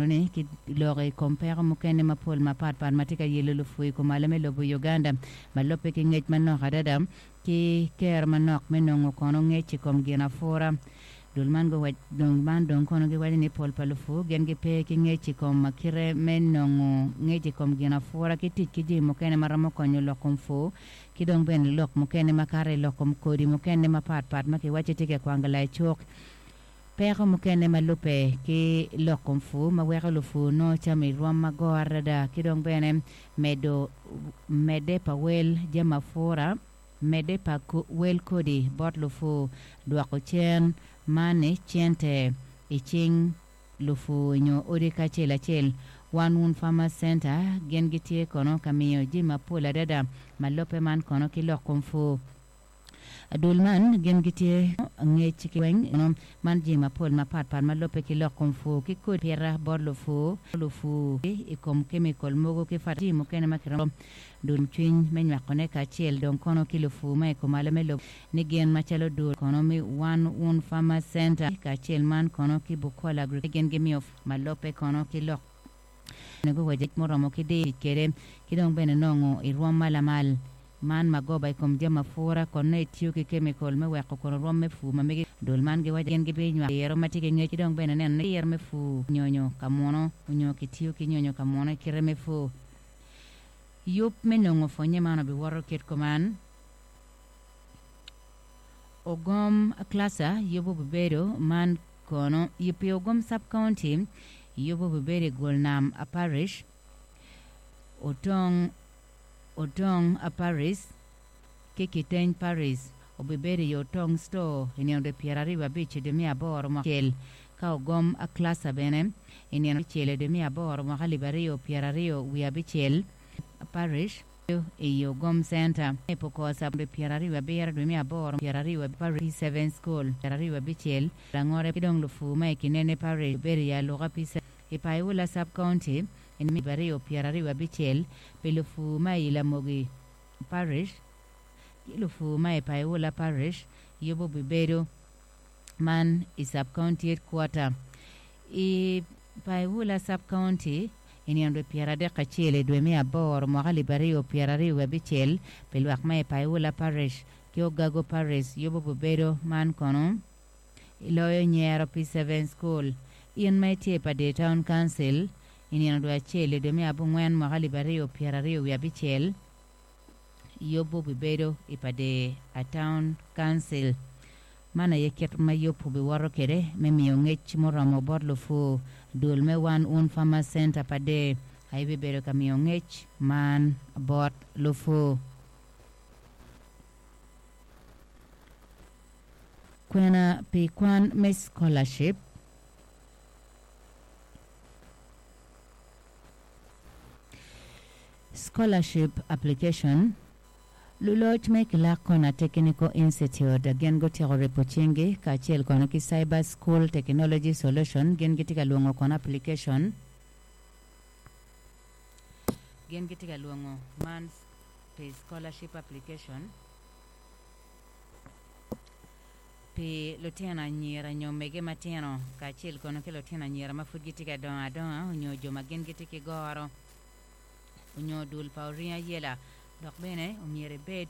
Ni ki loko i kom peko mukene mapol mapatpat ma tye ka yelo lupur i kumalo me lobo Uganda ma lubbe ki ngec manok adada ki kero manok me nongo kono ngec i kom gin apura. Dul man guwac dong man dong kono giwaco ni pol pa lupur gin gipe ki ngec i kom kite me nongo ngec i kom gin apura ki tic ki jami mukene ma romo konyo lok kom pur ki dong bene lok mukene makato i lok kom kodi mukene mapatpat ma kiwaco tye ka kwangla i cuk. Peko mukene ma lubbe ki lok kom pur ma weko lupur nongo cam i rwom magor adada ki dong bene medo medde pa wel jami apura, medde pa wel kodi bot lupur, dwoko cen man ni cente i cing lupur nyo odi kacel acel. One Woon Farmers Centre gin gitye kono ka miyo jami mapol adada ma lubbe man kono ki lok kom pur. Dul man gin gitye ngec ki weng man jami mapol mapat pat ma lubbe ki lok kom pur ki kodi pita bot lupur, lupur i kom kemikol mogo ki jami mukene ma kiromo dul cwiny me nywako ne kacel dong kono ki lupur ma i kumalo me lobo ni gin macalo dul kono me One Woon Farmers Centre kacel man kono ki Bukola Agriculture gin gimiyo ma lubbe kono ki lok Guwaco muromo ki tic kwede ki dong bene nongo i rwom ma lamal. Man magoba i kom jami apura kon nongo itiyo ki kemikol me weko kono rwom me pur ma megi. Dul man giwaco gin gibinywako diro ma tye ki ngec ki dong bene neno ni diro me pur nyonyo ka muno onyo kitiyo ki nyonyo ka muno i kite me pur. Yub me nongo pwonye man obiwoto kit kuman, Ogom Cluster yub obibedo man kono pi Ogom Sub County yub obibedo i Gol Nam Parish, Otong Otong Parish ki Kiteny Parish obibedo i Otong Store i nino dwe 25 dwe me aboro mwaka acel ka Ogom Cluster bene i nino abicel dwe me aboro mwaka 2026 Parish. I Ogom Center me Pokosa dwe 27 dwe me aboro 20 Parish P7 School 26 Langore ki dong lupur ma i Kinene Parish obedo i Aluka P7 i Paiwula Sub County i 2026 pi lupur ma i Lamogi Parish ki lupur ma i Paiwula Parish yubo bibedo man i Sub County Headquarter i Paiwula Sub County i nino dwe 31 i dwe me aboro mwaka 2026 pi lwak ma i Paiwula Parish ki Ogago Parish yubo bibedo man kono i loyo Nyero P7 School. In ma itye i Pader Town Council i nino dwe acel i dwe me abongwen mwaka 2026 yubu bibedo i Pader Town Council. Man aye kit ma yub obiwoto kwede me miyo ngec muromo bot lupur. Dul me One Woon Farmers Centre Pader aye bibedo ka miyo ngec man bot lupur. Kwena pi kwan me scholarship. Scholarship application. Luloc me Clark Corner Technical Institute gin gutyeko ripo cinggi kacel kono ki Cyber School Technology Solution gin gitye ka lwongo kono application gin gitye ka lwongo man pi scholarship application pi lutino anyira nyo mege matino kacel kono ki lutino anyira ma pud gitye ka dongo adonga onyo jo ma gin gitye ki goro onyo dul pa oringo ayela. Dok bene omyero ibed